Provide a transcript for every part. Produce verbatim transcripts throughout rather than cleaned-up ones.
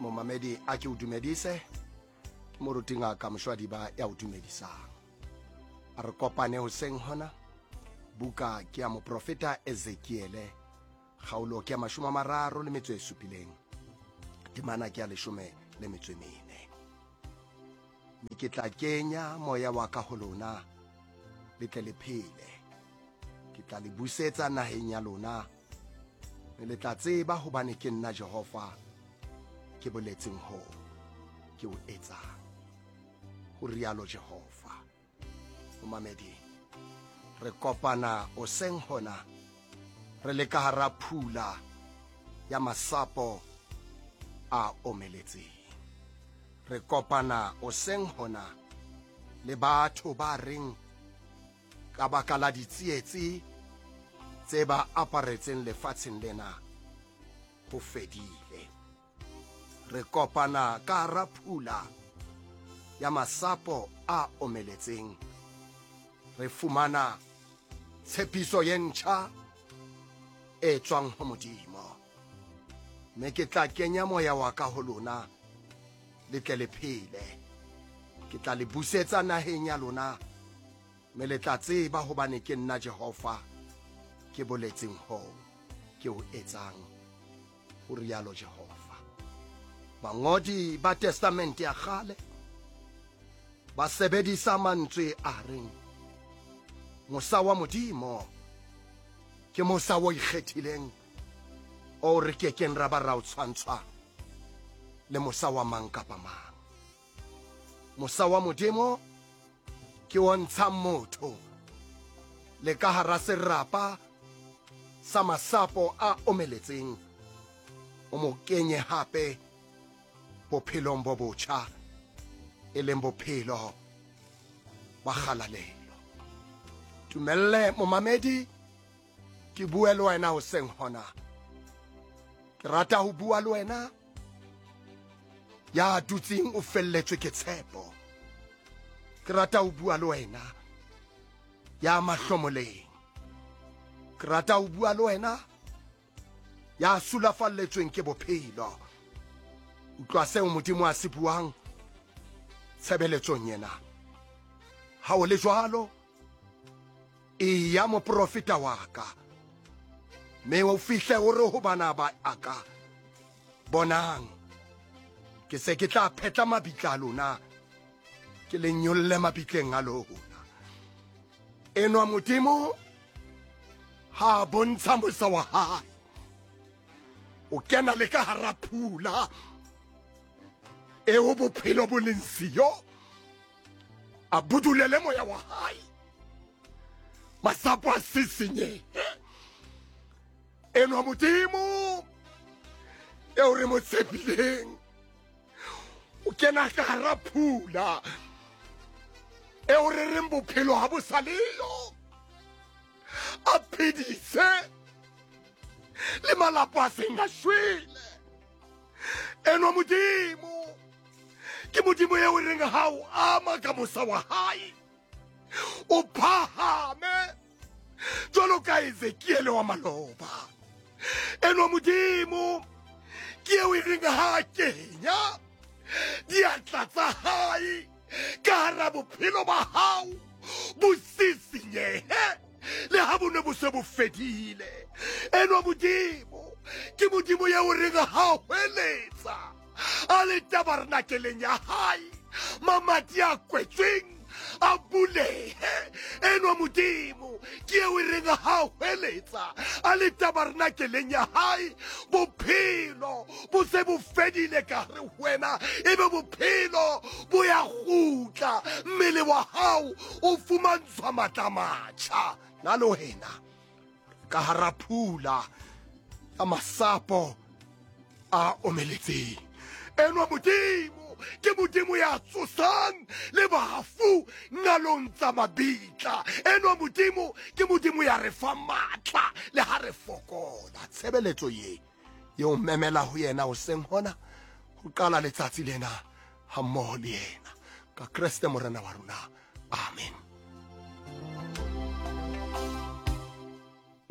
Momamedi, a ke o dumedise. Ke moruti Ngaka Mshwadiba ya o dumedisang. A re kopane hoseng hona. Buka ke ya moprofeta Ezekiele, kgaolo ke ya mashome a mararo le metso e supileng, temana ke ya leshome le metso e mene. Mme ke tla kenya moya wa ka ho lona, le tle le phele. Ke tla le busetsa naheng ya lona, mme le tla tseba hobane ke nna Jehova ke boletseng hoo, ke o etsang, ho rialo Jehova. Momamedi, re kopana hoseng hona re le ka hara phula ya masapo a omeletseng. Re kopana hoseng hona le batho ba reng ka baka la ditsietsi tse ba aparetseng lefatsheng lena ho fedile. Re kopana ka hara phula ya masapo a omeletseng, re fumana tshepiso ye ntjha e tswang ho Modimo. Mme ke tla kenya moya wa ka ho lona, le tle le phele. Ke tla le busetsa naheng ya lona, mme le tla tseba hobane ke nna Jehova ke boletseng hoo, ke o etsang, ho rialo Jehova. Bangodi ba Testamente ya kgale ba sebedisa mantswe a reng mosa wa Modimo ke mosa o ikgethileng o re kekeng ra ba ra o tshwantshwa le mosa wa mang kapa mang. Mosa wa Modimo ke o ntshang motho le ka hara serapa sa masapo a omeletseng, o mo kenye hape bophelong bo botjha, e leng bophelo ba kgalalelo. Tumelle momamedi ke bue le wena hoseng hona. Ke rata ho bua le wena ya dutseng o felletswe ke tshepo. Ke rata ho bua le wena ya mahlomoleng. Ke rata ho bua le wena ya sulafalletsweng ke bophelo. Utlwa seo Modimo a se buang tshebeletsong ena. Ha o le jwalo, eya moprofeta wa ka, mme o fihle o re ho bana ba aka, bonang, ke se ke tla phetla mabitla a lona, ke le nyolle mabitleng a lona. Enwa Modimo ha bontsha mosa wa hae, o kena le ka hara phula eo bophelo bo leng siyo, a budulele moya wa hae, masapo a sisinyehe. Enwa Modimo eo re mo tshepileng, o kena ka hara phula eo re reng bophelo ha bo sa leyo, a phedise le malapa a seng a shwele. Enwa Modimo ke Modimo eo re reng ha o ama ka mosa wa hae, o phahame jwalo ka Ezekiele wa maloba. Enwa Modimo ke eo e reng ha kenya diatla tsa hae ka hara bophelo ba hao bo sisinyehe le ha bo ne bo se bo fedile. Enwa Modimo ke Modimo eo reng ha hweletsa a le tabernakeleng ya hae, mamati a kwetsweng a bulehe. Enwa Modimo ke eo e reng ha hweletsa a le tabernakeleng ya hae, bophelo bo se bo fedile ka hare ho wena, ebe bophelo bo ya kgutla, mmele wa hao o fumantshwa matla a matjha. Na le wena ka hara phula ya masapo a omeletseng, enwa Modimo ke Modimo ya tsosang le bafu ngalong tsa mabitla. Enwa Modimo ke Modimo ya re fa matla le ha re fokola. Tshebeletso ye eo memela ho yena hoseng hona ho qala letsatsi lena hammoho le yena ka Kreste Morena wa rona. Amen.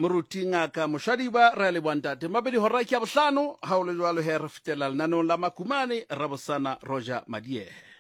Moruti Ngaka Moshwadiba, re a leboha ntate. Mabedi hora ke ya bohlano, ha o le jwalo he re fetela lenaneong la Makumane, Rabosana Roger Madiehe.